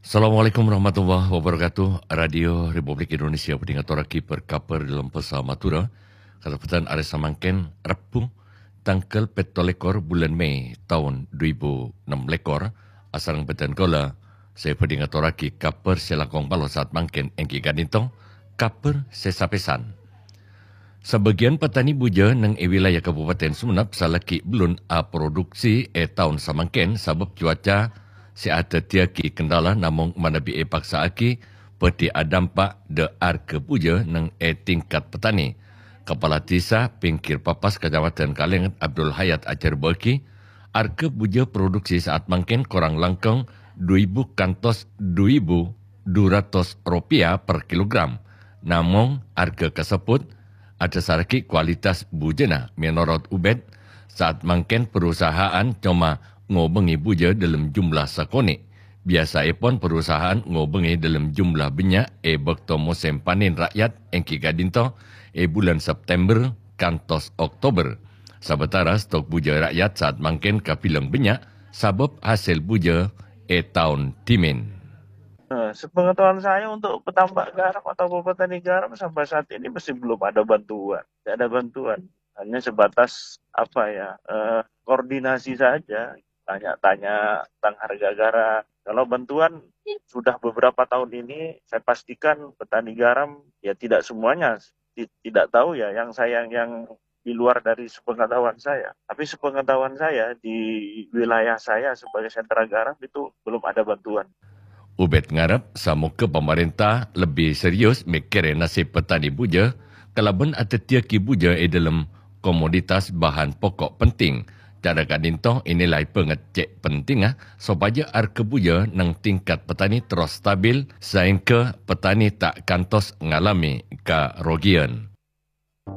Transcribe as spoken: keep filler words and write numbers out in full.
Assalamualaikum warahmatullahi wabarakatuh. Radio Republik Indonesia bhâdhi ngatorraghi bâr-kabhâr dâlem bhâsa Madhurâ. Kasempatan arè samangkèn, Rebbhu, tangghâl pètto lèkor bulân Mei taon dhu èbu ennem lèkor, asareng bhâdhân kaulâ sè bhâdhi ngatorraghi kabhâr sè langkong palo saat mangkèn èngghi ka'dinto kabhâr sè sapèsan. Sabâgiyân petani bujâ neng è wilayah Kabupaten Sumenep salaghi bellun aproduksi è taon samangkèn sabâb cuaca sè adhâddhiyâghi kendala, namong manabi èpaksa'aghi bhâdhi adampak dâ' arghâ bujâ neng è tingkat petani. Kapala Dhisa Pinggir Papas Kacamatan Kalenget Abdul Hayat ajhârbâ'âghi, arghâ bujâ produksi saat mangkèn korang langkong dhu èbu kantos dhu èbu dhu ratos ropèya per kilogram. Namong arghâ kasebbhut adhâsarraghi kualitas bujâna. Mènorot Ubed, saat mangkèn perusahaan coma ngobângè bujâ dâlem jumlah sakonè'. Biyasaèpon perusahaan ngobângè dâlem jumlah bânnya' è bâkto mosèm panèn ra'yat èngghi ka'dinto è bulân September kantos Oktober. Sabâtara stok bujâ ra'yat saat mangkèn kabilang bânnya' sabâb hasèl bujâ è taon dhimèn. Eh, sepengetahuan saya untuk petambak garam atau petani garam sampai saat ini masih belum ada bantuan. Tidak ada bantuan. Hanya sebatas apa ya, eh, koordinasi saja. Tanya-tanya tentang harga garam. Kalau bantuan sudah beberapa tahun ini saya pastikan petani garam ya tidak semuanya ti- tidak tahu ya yang saya yang di luar dari sepengetahuan saya. Tapi sepengetahuan saya di wilayah saya sebagai sentra garam itu belum ada bantuan. Ubed ngarep samoga pamarènta lebbi serius mèkkèrè nasib petani bujâ kalabân adhâddhiyâghi bujâ è dâlem komoditas bahan pokok penting. Cara ka'dinto ènilai bângèt cè' pentingnga sopajâ arghâ bujâ neng tingkat petani terros stabil saèngghâ petani ta' kantos ngalamè karogiân.